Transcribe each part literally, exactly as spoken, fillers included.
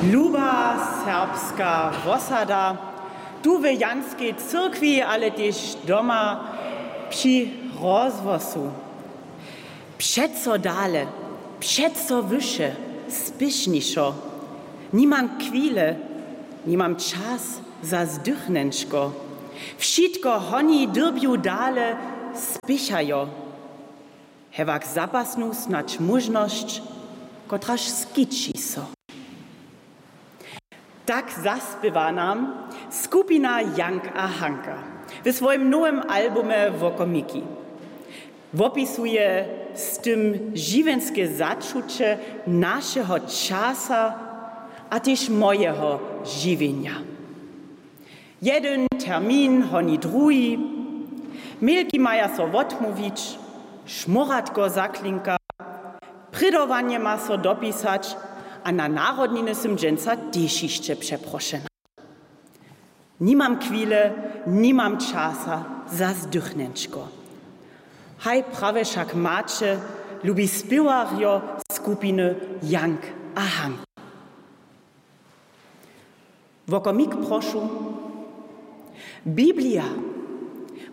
Luba serbska wosada, tu w Janskej cyrkwi, ale tež doma při rozhłosu. Přeco dale, přeco wyše, spěšnišo. Nimam chwile, nimam čas za zdychnjenčko. Wšitko honi, dyrbju dale, spěchajo. Hewak zapasnu snadź móžnosć, kotraž skići so. Tak zaspěwa nam skupina Jank a Hanka w swojim nowym albumje Wokomiki. Wopisuje z tym žiwjenske začuće našeho časa a tež mojeho žiwjenja. Jedyn termin honi druhi, milki maja so wotmołwić, šmóratko zaklinka, prědowanje ma so dopisać a na narodniny sym dźensa tež hišće přeprošena. Nimam chwile, nimam časa za zdychnjenčko. Haj prawje wšak maće, lubi spěwarjo skupiny Jank a Hank. Wokomik prošu. Biblija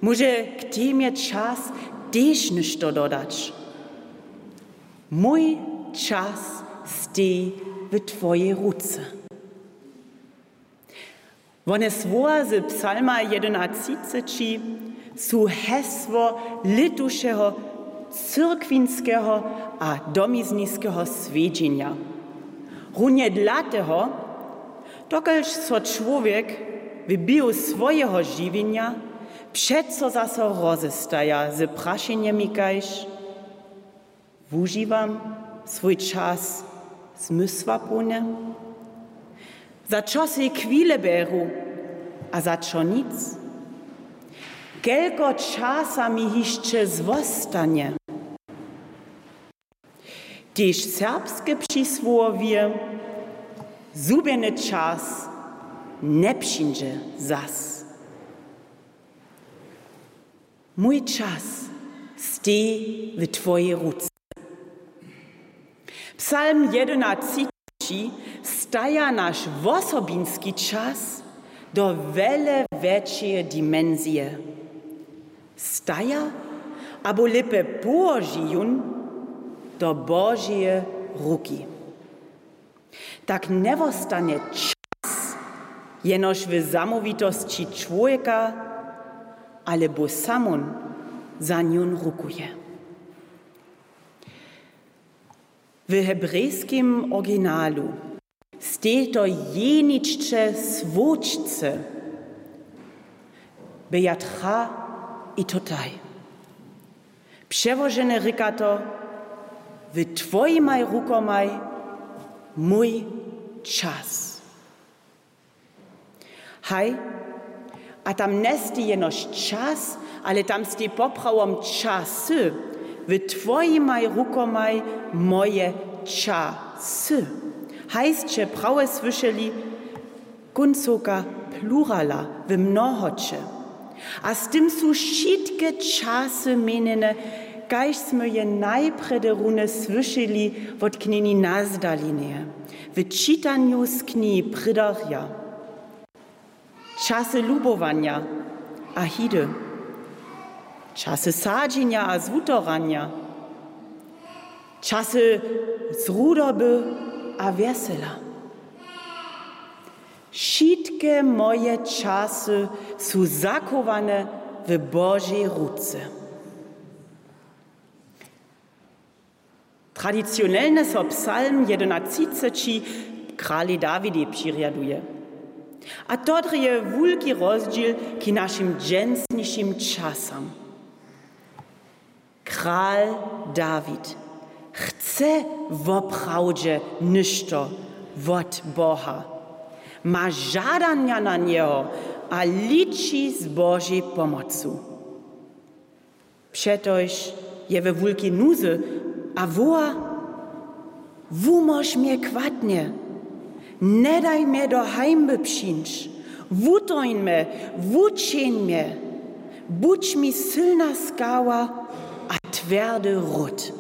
móže k temje čas tež něšto dodać. Mój čas steji w twojej ruce. Wone słowa z psalma jedynatřiceći su hesło lětušeho cyrkwinskeho a domizniskeho swjedźenja. Runje dlateho, dokelž so čłowjek w běhu swojeho žiwjenja přeco zaso rozestaja z prašenjemi kaž: Wužiwam swój čas zmysłapołnje? Za čo sej chwile bjeru a za čo nic? Kelko časa mi hišće zwostanje? Tež serbske přisłowje: Zhubjeny čas njepřińdźe zas. Mój čas steji w twojej ruce. Psalm jedynatřiceći staja naš wosobinski čas do wjele wjetšeje dimensije. Staja, abo lěpje połoži jón do Božeje ruki. Tak njewostanje čas jenož w zamołwitosći čłowjeka, ale Bóh samón za njón rukuje. W hebrejskim originalu steji to jeničce słódźce, bejatra i to taj. Přełožene rěka to: W twojimaj rukomaj mój čas. Haj, a tam njesteji jenož čas, ale tam steji poprawom časy. W twojimaj rukomaj moje časy. Haj sće prawje słyšeli, kóncowka plurala w mnohoće. A z tym su wšitke časy měnjene, kaž smy je najprjedy runje słyšeli wot knjeni Nazdalineje w čitanju z knihi Prědarja. Časy lubowanja a hidy, časy sadźenja a zwutoranja, časy zrudoby a wjesela. Wšitke moje časy su zachowane w Božej ruce. Tradicionelnje so psalm jedynatřiceći kralej Dawidej přirjaduje. A to drje wulki rozdźěl k našim dźensnišim časam. Kral Dawid chce woprawdźe něšto wot Boha, ma žadanja na njeho a liči z Božej pomocu. Přetož je we wulkej nuzy a woła: Wumóž mje chwatnje, njedaj mje do hańby přińć, wutoń mje, wućeń mje, budź mi sylna skała a twjerdy ród.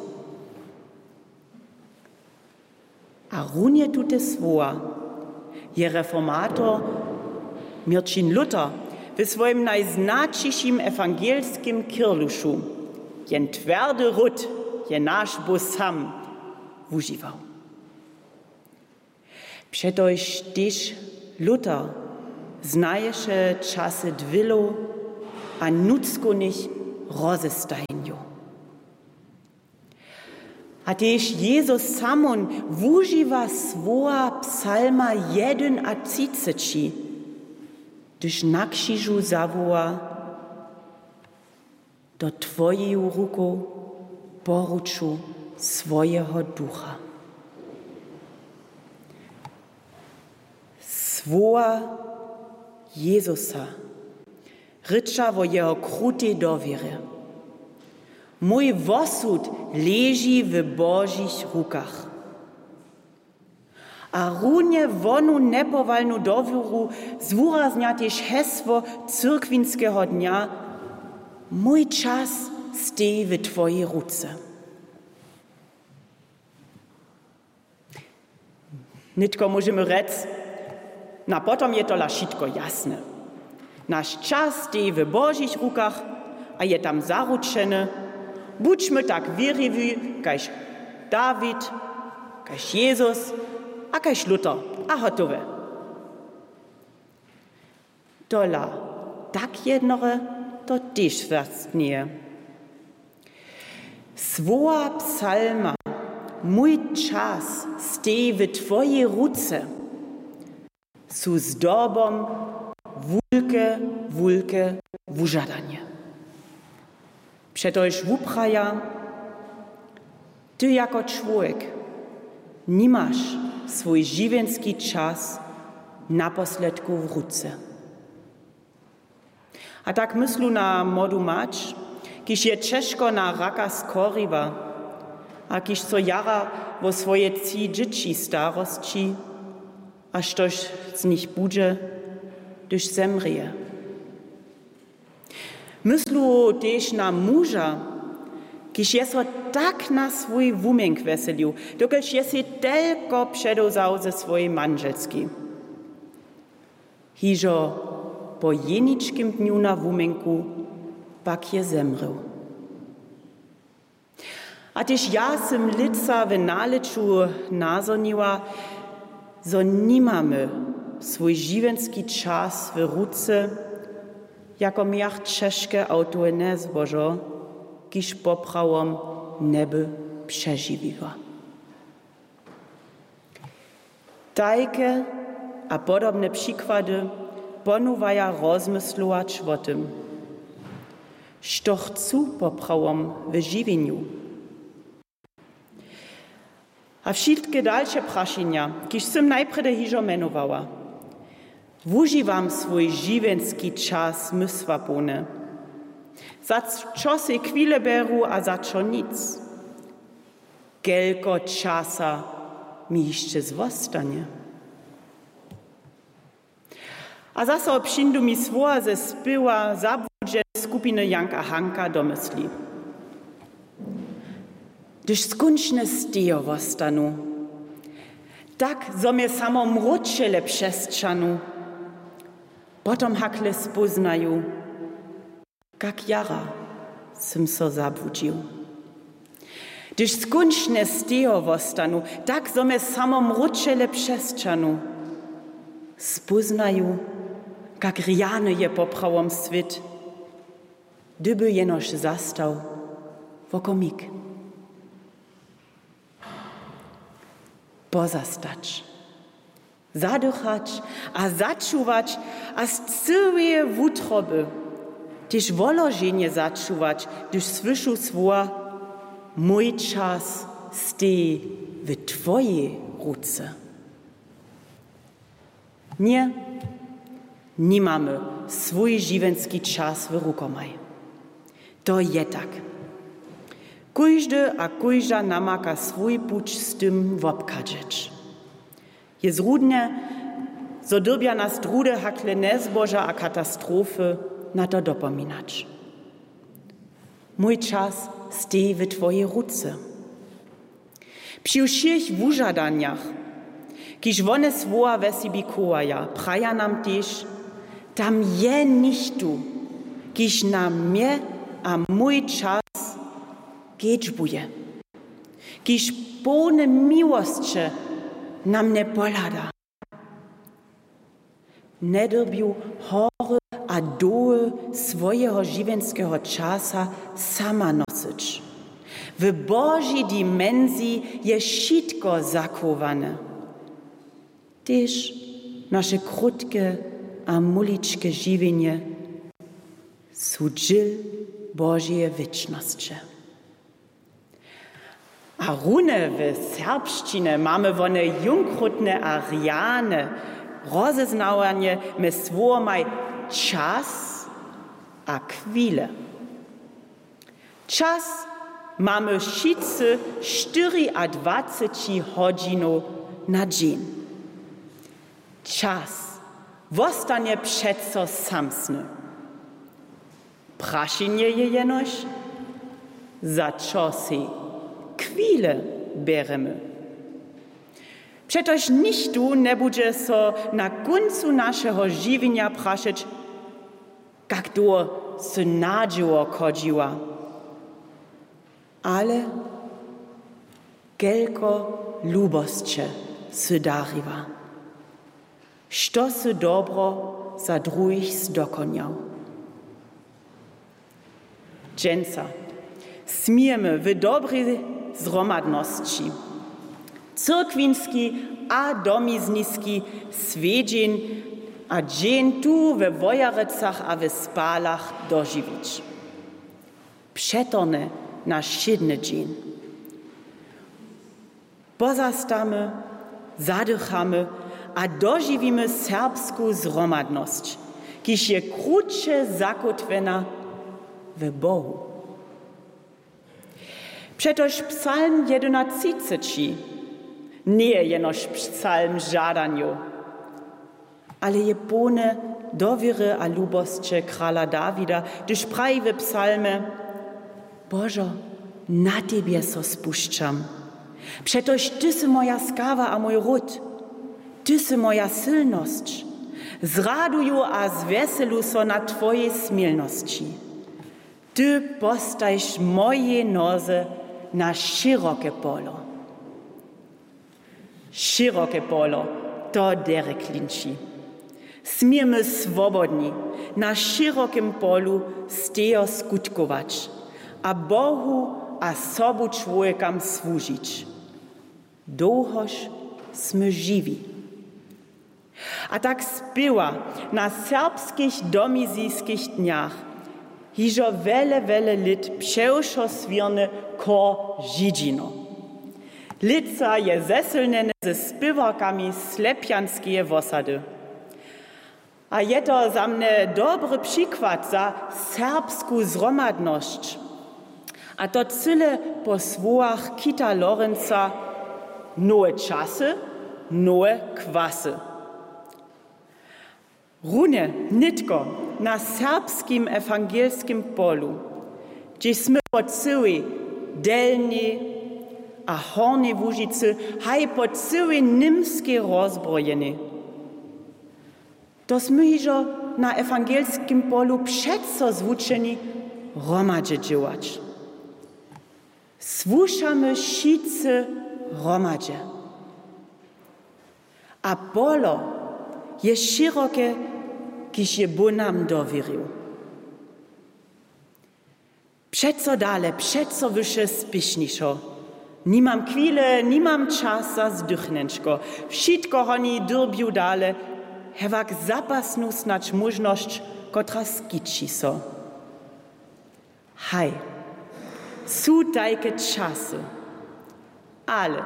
A runje tute słowa Je reformator Měrćin Luther w swojim najznaćišim ewangelskim kěrlušu: „Jen twjerdy ród je naš Bóh sam,“ wužiwał. Přetož tež Luther znaješe časy dwělow a nutřkownych rozestajenjow. A tež Jezus samón wužiwa słowa psalma jedynatřiceći, hdyž na křižu zawoła: „Do twojeju rukow poruču swojeho ducha.“ Słowa Jezusa rěča wo jeho krutej dowěrje: „Mój wosud leži w Božich rukach.“ A runje wonu njepowalnu dowěru zwuraznja tež hesło cyrkwinskeho dnja: „Mój čas steji w twojej ruce.“ Nětko móžemy rjec: „Na potom je tola wšitko jasne. Naš čas steji w Božich rukach a je tam zaručeny. Budźmy tak wěriwi kaž Dawid, kaž Jezus a kaž Luther a hotowe.“ Tola tak jednore to tež zastnije. Słowa psalma „Mój čas steji w twojej ruce“ su zdobom wulke, wulke wužadanje. Přetož wupraja: „Ty jako čłowjek nimaš swój žiwjenski čas naposledku w ruce.“ A tak myslu na młodu mać, kiž je ćežko na raka schoriła a kiž so jara wo swoje tři dźěći starosći a štož z nich budźe, hdyž zemrěje. Myslu tež na muža, kiž je so tak na swój wuměnk wjeselił, dokelž je sej telko předewzał ze swojej mandźelskej. Hižo po jeničkim dnju na wuměnku pak je zemrěł. A tež ja sym lětsa w nalěću nazhoniła, zo nimamy swój žiwjenski čas w ruce, jako měr ćežke awtohenne zbožo, kiž poprawom njeby přežiwiła. Tajke a podobne přikłady ponowaja rozmyslować wo tym, što chcu poprawom w žiwjenju. A wšitke dalše prašenja, kiž sym najprjedy hižo mjenowała. Wužiwam swój žiwjenski čas zmysłapołnje? Za čo sej chwile bjeru a za čo nic? Kelko časa mi hišće zwostanje? A zaso přińdu mi słowa ze spěwa zabłudźenej skupiny Janka Hanka do mysli: „Hdyž skónčnje stejo wostanu, tak zo mje samo mróčele přesćahnu, potom hakle spóznaju, kak jara sym so zabłudźił. Hdyž skónčnje stejo wostanu, tak zo mje samo mróčele přesćahnu, spóznaju, kak rjany je poprawom swět, hdyby jenož zastał wokomik.“ Pozastać, zadychać a začuwać a z cyłeje wutroby, tež woloženje začuwać, hdyž słyšu słowa: „Mój čas steji w twojej ruce.“ Ně, nimamy swój žiwjenski čas w rukomaj. To je tak. Kóždy a kóžda namaka swój puć z tym wobchadźeć. Je zrudne, zo dyrbja nas druhdy hakle njezboža a katastrofy na to dopominać. Mój čas steji w twojej ruce. Při wšěch wužadanjach, Kiž wone słowa we sebi chowaja, praja nam tež: Tam je něchtó, kiž na mje a mój čas kedźbuje, kiž połny miłosće na mnje pohlada. Njedyrbju hory a doły swojeho žiwjenskeho časa sama nosyć. W Božej dimensiji je wšitko zachowane, tež naše krótke a muličke žiwjenje su dźěl Božeje wěčnosće. A runje w serbšćinje mamy wone jónkrótne a rjane rozeznawanje mjez słowomaj čas a chwile. Čas mamy wšitcy štyriadwaceći hodźinow na dźeń. Čas wostanje přeco samsny. Prašenje je jenož, za čo sej chwile bjeremy. Přetož nichtó njebudźe so na kóncu našeho žiwjenja prašeć, kak dołho sy nadźěło chodźiła, ale kelko lubosće sy dariła, što sy dobro za druhich zdokonjał. Dźensa smějemy w dobrej zhromadnosći cyrkwinski a domizniski swjedźeń a dźeń tu we Wojerecach a w Spalach dožiwić. Přetorhny naš wšědny dźeń. Pozastamy, zadychamy a dožiwimy serbsku zhromadnosć, kiž je kruće zakótwjena w Bohu. Přetož psalm jedynatřiceći njeje jenož psalm žadanjow, ale je połny dowěry a lubosće krala Dawida, hdyž praji w psalmje: Božo, na tebje so spušćam. Přetož ty sy moja skawa a mój ród. Ty sy moja sylnosć. Zraduju a zwjeselu so na twojej smilnosći. Ty postajš mojej noze na šěroke polo. Šěroke polo, to derje klinči. Smějemy swobodni na šěrokim polu stejo skutkować a Bohu a sobu čłowjekam słužić, dołhož smy žiwi. A tak spěwa na serbskich domizijskich dnjach hižo wjele, wjele lět přewšo swěrny chór Židźino. Lětsa je zesylnjeny ze spěwarkami Slepjanskeje wosady. A je to za mnje dobry přikład za serbsku zhromadnosć. A to cyle po słowach Kita Lorenza: Nowe časy, nowe kwasy. Runje nětko na serbskim ewangelskim polu, hdźež smy po cyłej Delnjej a Hornjej Łužicy, haj po cyłej Němskej rozbrojeni, to smy hižo na ewangelskim polu přeco zwučeni hromadźe dźěłać. Słušamy wšitcy hromadźe. A polo je šěroke, kiž je Bóh nam dowěrił. Přeco dale, přeco wyše, spěšnišo. Nimam chwile, nimam čas za zdychnjenčko. Wšitko honi, dyrbju dale, hewak zapasnu snadź móžnosć, kotra skići so. Haj, su tajke časy. Ale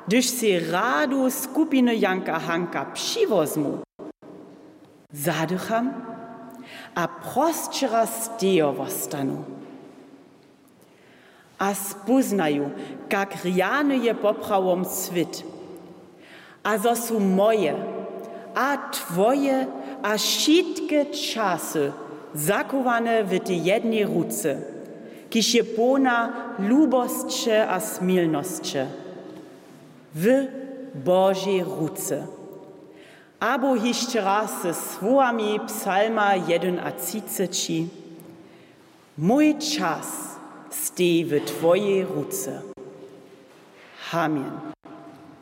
hdyž sej radu skupiny Janka Hanka přiwozmu, zadycham a prosćera stejo wostanu. A spóznaju, kak rjany je poprawom swět. A zo su moje a twoje a wšitke časy zachowane w tej jednej ruce, kiž je połna lubosće a smilnosće. Wy Božej ruce. Abo hišće raz ze słowami psalma jedynatřiceći: Mój čas steji w twojej ruce. Amen.